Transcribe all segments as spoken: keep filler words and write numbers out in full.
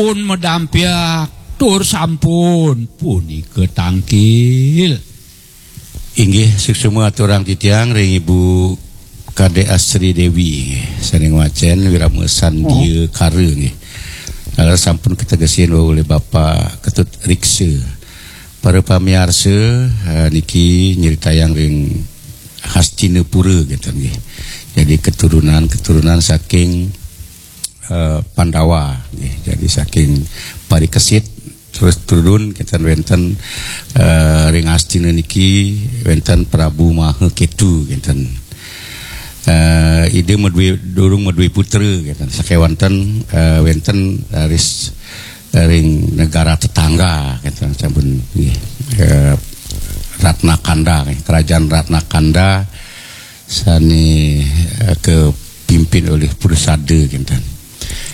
Pun medampiak, tur sampun punika tangkil. Inggih, suksma aturang titiang ring Ibu Kadek Asri Dewi, nggih, sané ngwacén Wirama Sandia Kara, nggih. Kala sampun kategesin olih Bapak Ketut Riksa. Para pamiarsa, eh, niki nyeritayang ring Hastinapura, gitu, nggih. Jadi keturunan-keturunan saking eh, Pandawa, nggih. Jadi saking parikesit terus turun kinten wénten, eh, ring Astina niki wénten Prabu Maha Ketu kinten. Eh, ida madué, durung madué putra kinten. Sakéwanten, eh, wénten raris ring negara tetangga kinten sampun, nggih. Eh, Ratnakanda, nggih. Kerajaan Ratnakanda sané, eh, kapimpin olih Prusada kinten.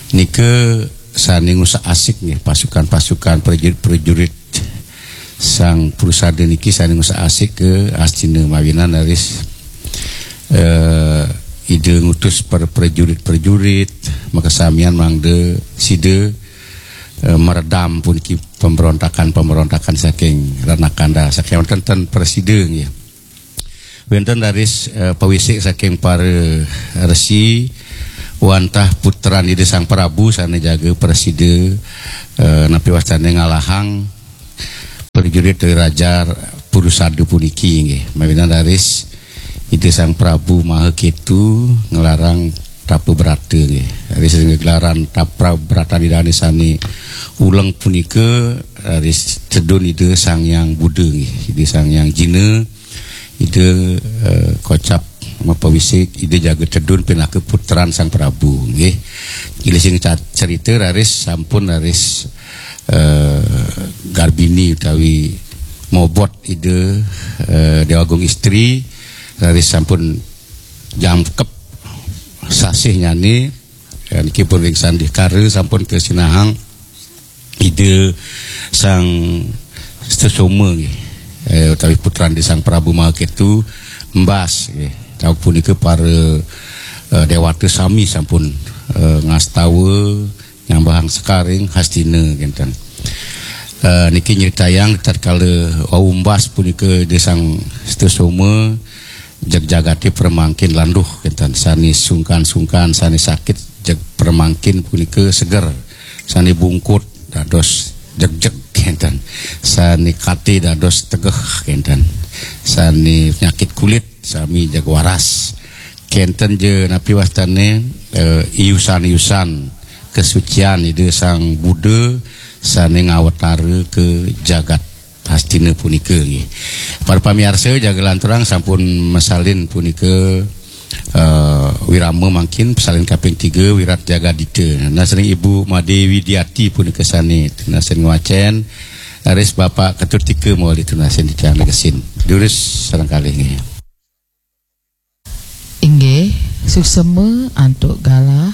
Nika sané ngusak-asik, nggih, pasukan-pasukan prajurit-prajurit Sang Prusada niki sané ngusak-asik ka Astina mawinan raris, eh, ida ngutus para prajurit-prajurit makasamian mangda sida, eh, meredam puniki pemberontakan-pemberontakan saking Ratnakanda. Sakéwanten ten prasida, nggih. Wénten raris, eh, pawisik saking para resi wantah putran Ida Sang Prabu sané jaga prasida, eh, napi wastané ngalahang prajurit dari Raja Prusada puniki, nggih. Mawinan raris Ida Sang Prabu Maha Ketu nglarang tapa brata, nggih. Raris ring gelaran tapa bratan Idané sané uleng punika raris tedun Ida Sang Hyang Buddha, nggih. Ida Sang Hyang Jina, Ida, eh, kocap mapawisik, Ida jaga tedun pinaka putran Sang Prabu, nggih. Gilising ca-, cerita raris sampun raris, eh, garbini utawi mobot Ida, eh, Déwa Agung Istri, raris sampun jangkep sasih nyani, eh, niki pun ring Sandikara sampun kasinahang Ida Sang Sutasoma, nggih, eh, utawi putran Ida Sang Prabu Maha Ketu embas, nggih. Sapunika para, eh, déwata sami sampun, eh, ngastawa nyambahang sekar ring Hastina kinten. Eh, niki nyritayang tatkala wau embas punika Ida Sang Sutasoma, jeg jagaté pramangkin landuh kinten, sané sungkan-sungkan, sané sakit jeg pramangkin punika seger, sané bungkut dados jegjeg kinten, sané kati dados tegeh kinten, sané penyakit kulit sami jeg waras. Kinten ja napi wastané, eh, iusan-iusan kesucian Ida Sang Buddha sané ngawatara ka jagat Hastina punika, nggih. Para pamiarsa, jaga lanturang sampun masalin punika, eh, wirama mangkin, pasalin kaping tiga, Wirat Jagadita. Nunas ring Ibu Madé Widiati punika sané nunas ring ngwacén, raris Bapak Ketut Tika mawali nunas ring titiang negesin. Durus sareng kalih, nggih. Inggih, suksema antuk galah